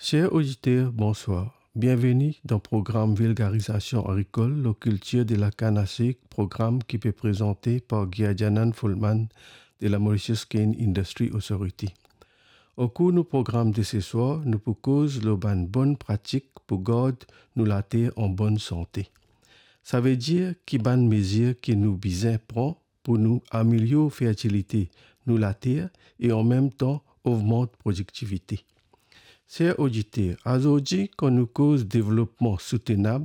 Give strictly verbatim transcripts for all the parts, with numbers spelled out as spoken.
Ser oditer, bonswar. Bienveni dan program Vilgarizasion Agrikol lor Kiltir de la Kann a Sik, program ki pe prezante par Giadjanan Fullman de la Mauritius Cane Industry Authority. Okour nou program de seswar, nou pou koz lor bann bonn pratik pou gard nou later an bonn sante. Savedir ki bann mezir ki nou bizin pran pou nou amelior fertilite nou later e anmemtan ogmant prodiktivite. Ser oditer, azordi kan nou koz devlopman soutenab,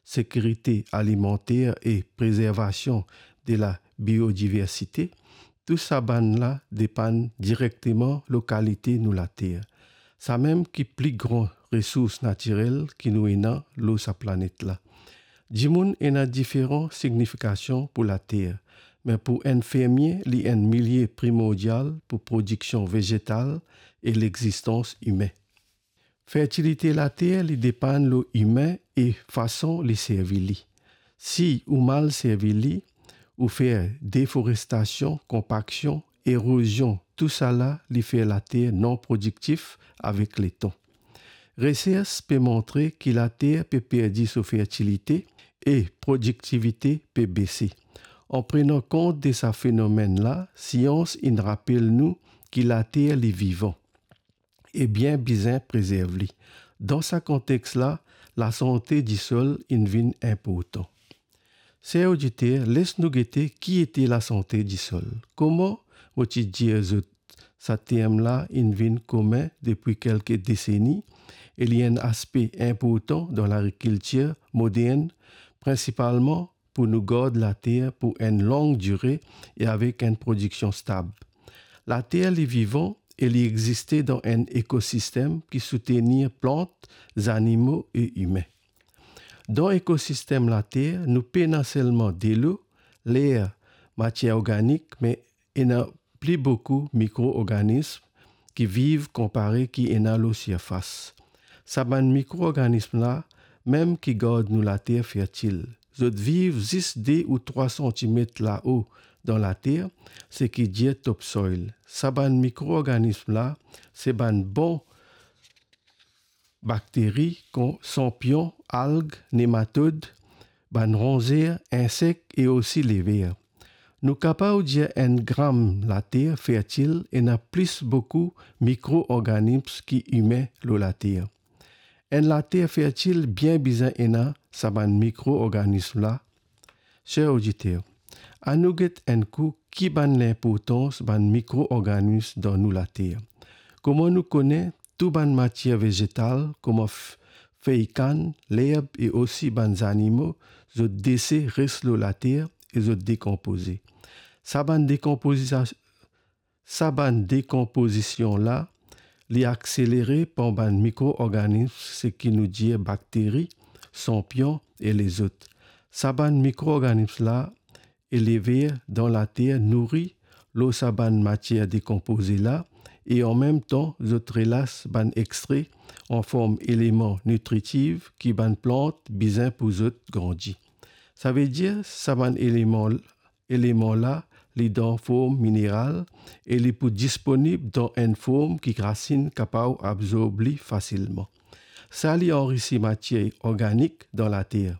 sekirite alimanter e prezervasion de la biodiversite, tou sa bann la depann direkteman lor kalite nou later, samem ki pli gran resours natirel ki nou ena lor sa planet la. Dimoun ena diferan signifikasion pou later, me pou enn fermie, li enn milie primordial pou prodiksion vezetal e lexistans imin. Fertilite later, li depann lor imin e fason li servi li. Si ou mal servi li, ou fer deforestasion, konpaksion, erozion, tousala li fer later non prodiktif avek letan. Resers pe montre ki later pe perdi so fertilite e prodiktivite pe bese. An prenan kont de sa fenomenn la, sians inn rapel nou ki later li vivan e bien bizin prezerv li. Dan sa kontex la, lasante disol inn vinn inportan. Ser oditer, les nou gete ki ete lasante disol. Kouma mo ti dir zot, sa term la inn vinn komin depi kelke deseni e li enn aspe inportan dan lagrikiltir modern, prinsipalman pou nou gard later pou enn long dire e avek enn prodiksion stab. Later li vivan e li existe dan enn ekosistem ki soutenir plant, zanimo e imin. Dan ekosistem later, nou pena selman delo, ler, matier organik, me ena pli boukou mikroorganism ki viv konpare ki ena lor sirfas. Sa bann mikroorganism la mem ki gard nou later fertil. Zot viv zis de ou trwa santimet lao dan later, seki dir topsoil. Sa bann mikroorganism la, se bann bon bakteri kon sanpion, alg, nematod, bann ronzer, insek e osi lever. Nou kapav dir enn gram later fertil ena plis boukou mikroorganism ki imin lor later. Enn later fertil bien bizin ena sa bann mikroorganism la. Ser oditer, anou get enn kou ki bann linportans bann mikroorganism dan nou later. Kouma nou kone, tou bann matier vezetal, kouma f-, fey kann, lerb e osi bann zanimo, zot dese res lor later e zot dekonpoze. Sa bann dekonpoziza-, sa bann dekonpozision la, li akselere par bann mikroorganism, seki nou dir bakteri, sanpion e lezot. Sa bann mikroorganism la, e lever dan later nouri lor sa bann matier dekonpoze la, e anmemtan zot relas bann extre an form eleman nitritif ki bann plant bizin pou zot grandi. Savedir sa bann eleman, eleman la, li dan form mineral e li pou disponib dan enn form ki rasinn kapav abzorb li fasilman. Sa li anrisi matier organik dan later.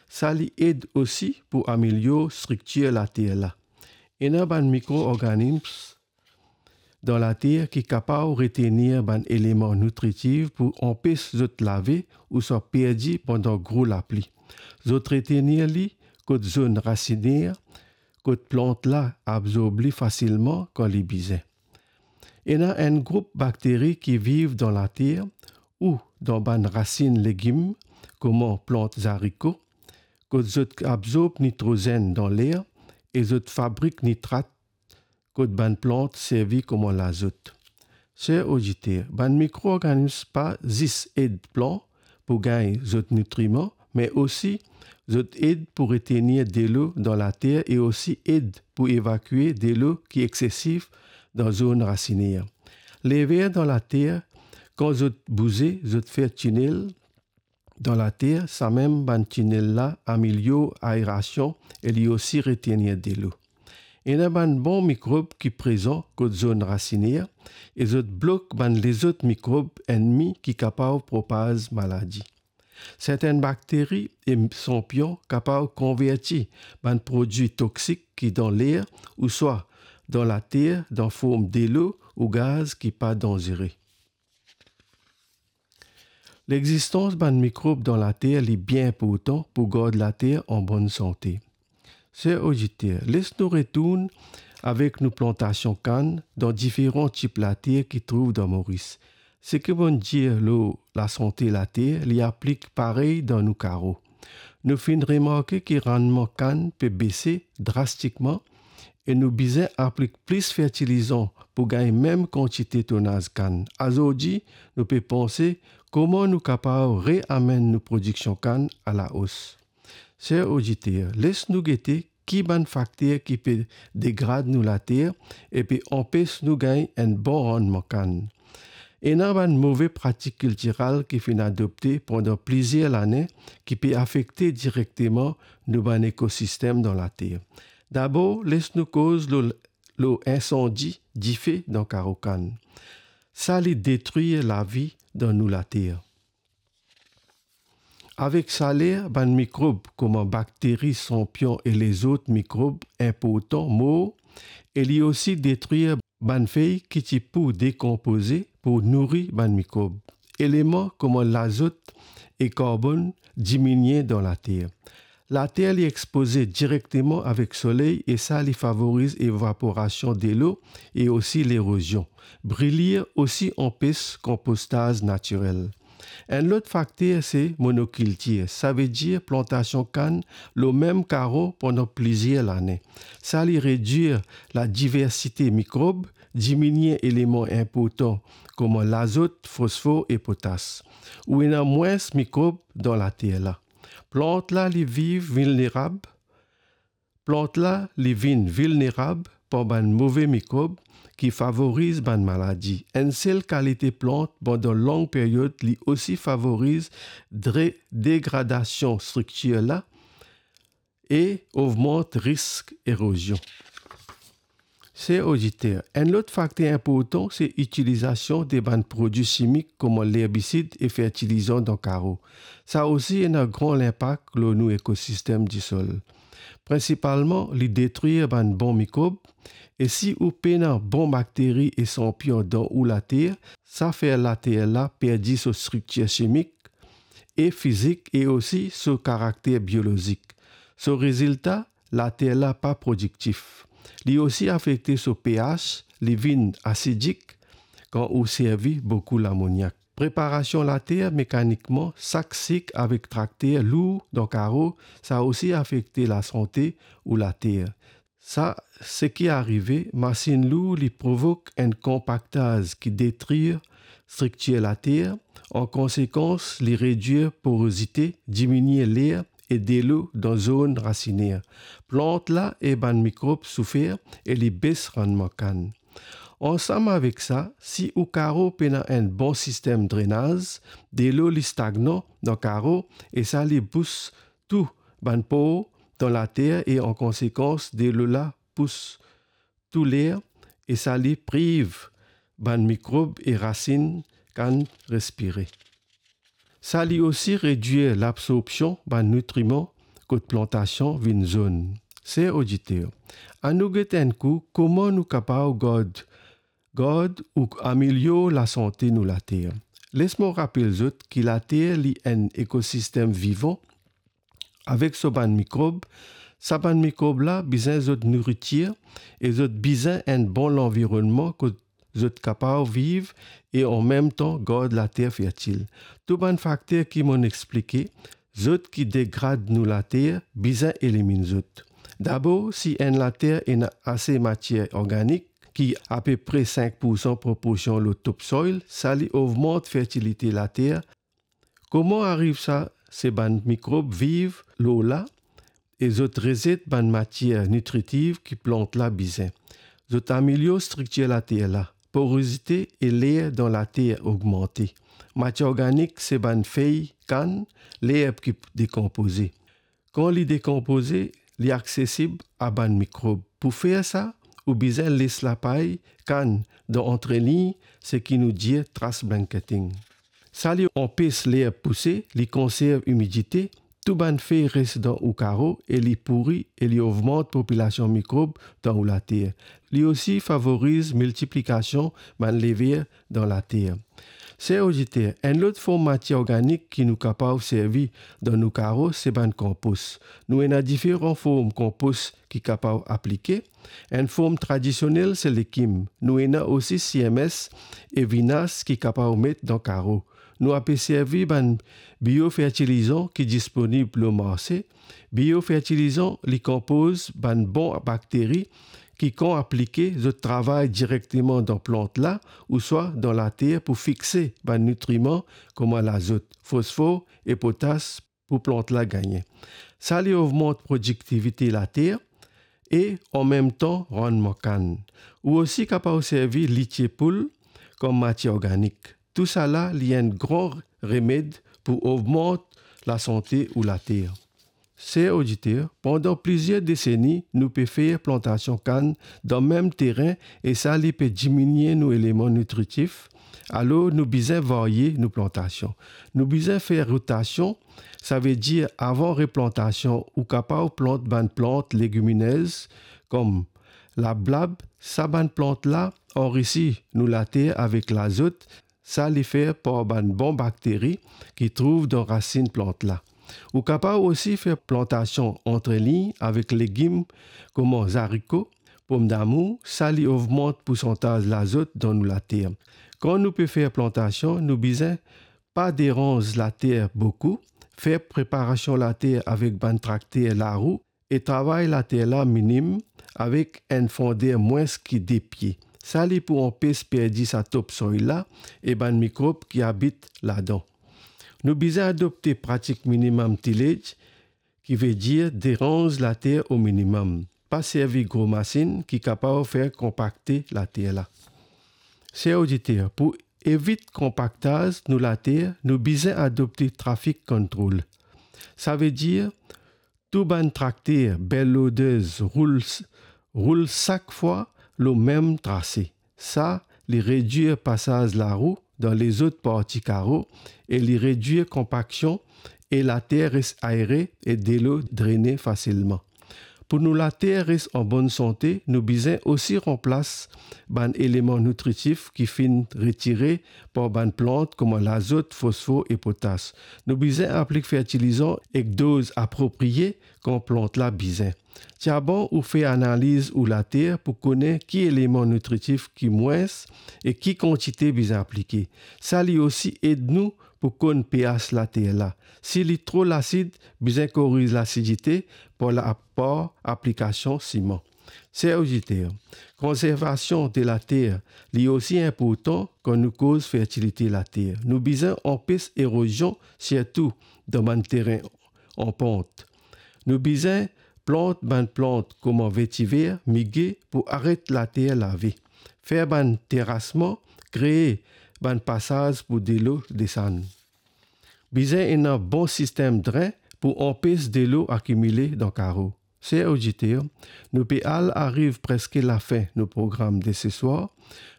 Sa li ed osi pou amelior striktir later la. Ena bann mikroorganism dan later ki kapav retenir bann eleman nitritif pou anpes zot lave ouswa perdi pandan gro lapli. Zot retenir li kot zone racinaire, kot plant la abzorb li fasilman kan li bizin. Ena enn group bakteri ki viv dan later ou dan bann rasinn legim, kouma plant zariko, kot zot abzorb nitrozenn dan ler e zot fabrik nitrat kot bann plant servi kouma lazot. Ser oditer, bann mikroorganism pa zis ed plant pou gagn zot nitriman, me osi zot ed pou retenir delo dan later e osi ed pou evakue delo ki eksesif dan zone racinaire. Lever dan later, kan zot bouze, zot fer tinel dan later, samem bann tinel la amelior aerasion e li osi retenir delo. Ena bann bon mikrob ki prezan kot zone racinaire e zot blok bann lezot mikrob ennmi ki kapav propaz maladi. Sertenn bakteri e sanpion kapav konverti bann prodwi toksik ki dan ler ouswa dan later dan form delo ou gaz ki pa danzere. Lexistans bann mikrob dan later li bien inportan pou gard later an bonn sante. Ser oditer, les nou retourn avek nou plantasion kann dan diferan tip later ki trouv dan Moris. Seki mo'nn dir lor lasante later, li aplik parey dan nou karo. Nou finn remarke ki rannman kann pe bese drastikman e nou bizin aplik plis fertilizan pou gagn mem kantite tonaz kann. Azordi, nou pe panse kouma nou kapav reamenn nou prodiksion kann alaos. Ser oditer, les nou gete ki bann fakter ki pe degrad nou later e pe anpes nou gagn enn bon rannman kann. Ena bann move pratik kiltiral ki finn adopte pandan plizier lane ki pe afekte direkteman nou bann ekosistem dan later. Dabor, les nou koz lor, lor insandi dife dan karo kann. Sa li detrir lavi dan nou later. Avek saler, bann mikrob kouma bakteri, sanpion e lezot mikrob inportan mor, e li osi detrir bann fey ki ti pou dekonpoze pou nouri bann mikrob. Eleman kouma lazot e karbonn diminie dan later. Later li expoze direkteman avek soley e sa li favoriz evaporasion delo e osi lerozion. Brilir osi anpes konpostaz natirel. Enn lot fakter se monokiltir, savedir plantasion kann lor mem karo pandan plizier lane. Sa li redwir ladiversite mikrob, diminie eleman inportan kouma lazot, fosfor e potas. Ou ena mwins mikrob dan later la. Plant la li viv vilnerab. Plant la li vinn vilnerab par bann move mikrob ki favoriz bann maladi. Enn sel kalite plant pandan long period li osi favoriz dre-, degradasion striktir la e ogmant risk erozion. Ser oditer, enn lot fakter inportan se itilizasion de bann prodwi simik kouma lerbisid e fertilizan dan karo. Sa osi ena gran linpak lor nou ekosistem disol. Prinsipalman, li detrir bann bon mikrob, e si ou pena bon bakteri e sanpion dan ou later, sa fer later la perdi so striktir simik e fizik e osi so karakter biolozik. So rezilta, later la pa prodiktif. Li osi afekte so pH, li vinn asidik kan ou servi boukou lamoniak. Preparasion later mekanikman, sak sik avek trakter lour dan karo, sa osi afekte lasante ou later. Sa, seki arive, masinn lour li provok enn konpaktaz ki detrir striktir later, an konsekans, li redwir porozite, diminie ler e delo dan zone racinaire. Plant la e bann mikrob soufer e li bes rannman kann. Ansam avek sa, si ou karo pena enn bon sistem drenaz, delo li stagnan dan karo e sa li bous tou bann por dan later e an konsekans delo la pous tou ler e sa li priv bann mikrob e rasinn kann respire. Sa li osi redwir labsorpsion bann nitriman kot plantasion vinn zonn. Ser oditer, anou get enn kou kouma nou kapav gard, gard ou amelior lasante nou later. Les mo rapel zot ki later li enn ekosistem vivan avek so bann mikrob. Sa bann mikrob la bizin zot nouritir e zot bizin enn bon lanvironnman kot zot kapav viv e an mem tan gard later fertil. Tou bann fakter ki mo'nn explike zot ki degrad nou later, bizin eliminn zot. Dabor, si enn later ena ase matier organik, ki apepre sink poursan proporsion lor topsoil, sa li ogmant fertilite later. Kouma ariv sa? Se bann mikrob viv lor la e zot rezet bann matier nitritiv ki plant la bizin. Zot amelior striktir later la, porozite e ler dan later ogmante. Matier organik se bann fey kann, lerb ki dekonpoze. Kan li dekonpoze, li aksesib a bann mikrob. Pou fer sa, ou bizin les lapay kann dan antrelign, seki nou dir trash blanketing. Sa li anpes lerb pouse, li konserv imidite, tou bann fey res dan ou karo e li pouri e li ogmant popilasion mikrob dan ou later. Li osi favoriz miltiplikasion bann lever dan later. Ser oditer, enn lot form matier organik ki nou kapav servi dan nou karo, se bann konpos. Nou ena diferan form konpos ki kapav aplike. Enn form tradisionel se lekim. Nou ena osi C M S e vinas ki kapav met dan karo. Nou ape servi bann biofertilizan ki disponib lor marse. Biofertilizan, li konpoz bann bon bakteri ki kan aplike, zot travay direkteman dan plant la, ouswa dan later pou fixe bann nitriman kouma lazot, fosfor e potas pou plant la gagne. Sa li ogmant prodiktivite later e anmemtan randman kann. Ou osi kapav servi litie poul kom matier organik. Tousala li enn gran remed pou ogmant lasante ou later. Ser oditer, pandan plizier deseni, nou pe fer plantasion kann dan mem terin e sa li pe diminie nou eleman nitritif, alor nou bizin varye nou plantasion. Nou bizin fer rotasion, savedir avan replantasion, ou kapav plant bann plant legiminez kom lablab, sa bann plant la anrisi nou later avek lazot, sa li fer par bann bon bakteri ki trouv dan rasinn plant la. Ou kapav osi fer plantasion antrelign avek legim kouma zariko, pomdamour, sa li ogmant poursantaz lazot dan nou later. Kan nou pe fer plantasion, nou bizin pa deranz later boukou, fer preparasion later avek bann trakter larou e travay later la minim avek enn fonder mwins ki de pie. Sa li pou anpes perdi sa topsoil la e bann mikrob ki abit ladan. Nou bizin adopte pratik minimum tillage, ki vedir deranz later o minimum. Pa servi gro masinn ki kapav fer konpakte later la. Ser oditer, pou evit konpaktaz nou later, nou bizin adopte traffic control. Savedir, tou bann trakter, bell loaders, roul, roul sak fwa lor mem trase. Sa, li redwir pasaz larou dan lezot parti karo e li redwir konpaksion e later res aere e delo drene fasilman. Pou nou later res an bonn sante, nou bizin osi ranplas bann eleman nitritif ki finn retire par bann plant kouma lazot, fosfor e potas. Nou bizin aplik fertilizan ek doz apropriye kan plant la bizin. Ti a bon ou fer analiz ou later pou kone ki eleman nitritif ki mwins e ki kantite bizin aplike. Sa li osi ed nou pou konn pH later la. Si li tro lasid, bizin koriz lasidite par la, par aplikasion siman. Ser oditer, konservasion de later, li osi inportan kan nou koz fertilite later. Nou bizin anpes erozion, sirtou dan bann terin an pant. Nou bizin plant bann plant kouma vetiver, mige pou aret later lave. Fer bann terasman, kree bann pasaz pou delo desann. Bizin ena bon sistem dren pou anpes delo akimile dan karo. Ser oditer, nou pe al ariv preske lafin nou program de seswar.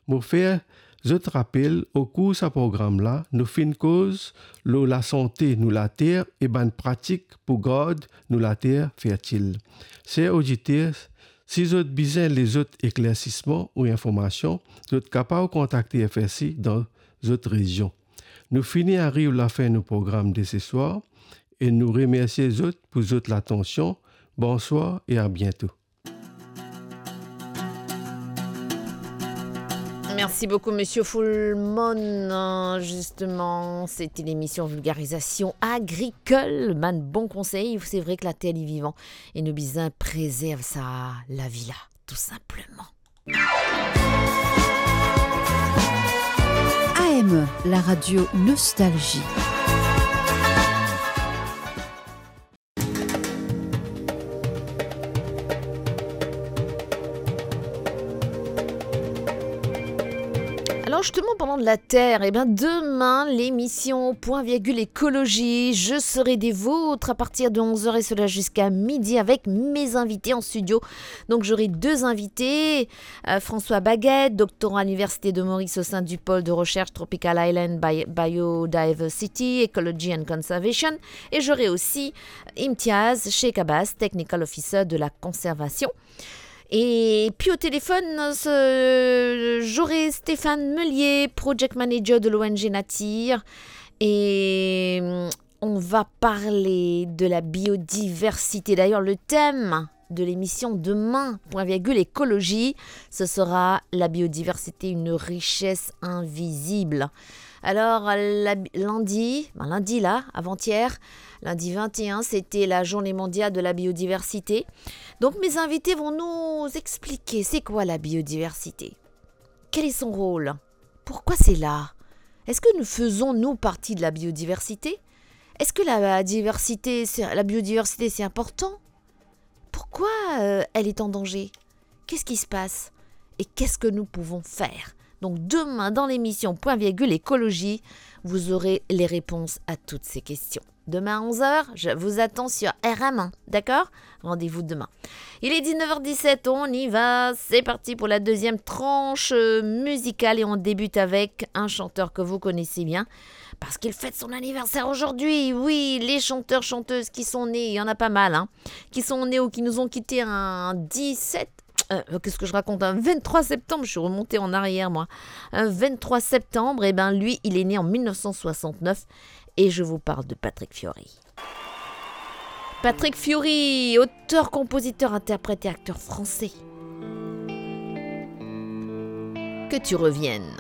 Mo fer zot rapel, okour sa program la, nou finn koz lor lasante nou later e bann pratik pou gard nou later fertil. Ser oditer, si zot bizin lezot eklersisman ou informasion, zot kapav kontakte F S I dan zot rezion. Nou fini ariv lafin nou program de seswar e nou remersie zot pou zot latansion. Bonswar e a biento. Merci beaucoup, Monsieur Fullmon. Justement, c'était l'émission Vulgarisation Agricole. Bann bon konsey, c'est vrai que la terre est vivante et nous besoin préserver ça, la vie là, tout simplement. A M E, la radio Nostalgie. Alors, Justement, parlant de la Terre, eh ben, demain, l'émission Point Virgule Écologie, je serai des vôtres à partir de onze heures et cela jusqu'à midi avec mes invités en studio. Donc, j'aurai deux invités, euh, François Baguette, doctorant à l'Université de Maurice au sein du pôle de recherche Tropical Island Bi-, Biodiversity, Ecology and Conservation, et j'aurai aussi Imtiaz Sheikh Abbas, Technical Officer de la conservation. Et puis au téléphone, ce, j'aurai Stéphane Meullier, Project Manager de l'O N G Nature. Et, hum, on va parler de la biodiversité. D'ailleurs, le thème de l'émission demain, Point Virgule Écologie, ce sera la biodiversité, une richesse invisible. Alors, la bi-, lundi, ben, lundi la, avant-hier, lundi vingt et un, c'était la journée mondiale de la biodiversité. Donc, mes invités vont nous expliquer c'est quoi la biodiversité. Quel est son rôle ? Pourquoi c'est là ? Est-ce que nous faisons, nous, partie de la biodiversité ? Est-ce que la diversité, c'est, la biodiversité, c'est important ? Pourquoi, euh, elle est en danger ? Qu'est-ce qui se passe ? Et qu'est-ce que nous pouvons faire ? Donc demain, dans l'émission Point Virgule Écologie, vous aurez les réponses à toutes ces questions. Demain à onze heures, je vous attends sur R M un, d'accord ? Rendez-vous demain. Il est dix-neuf heures dix-sept, on y va, c'est parti pour la deuxième tranche, euh, musicale et on débute avec un chanteur que vous connaissez bien parce qu'il fête son anniversaire aujourd'hui. Oui, les chanteurs, chanteuses qui sont nés, il y en a pas mal, hein, qui sont nés ou qui nous ont quittés un dix-sept, euh, qu'est-ce que je raconte, un vingt-trois septembre, je suis remontée en arrière, moi. Un vingt-trois septembre, eh ben, lui, il est né en mille neuf cent soixante-neuf et je vous parle de Patrick Fiori. Patrick Fiori, auteur, compositeur, interprète et acteur français. Que tu reviennes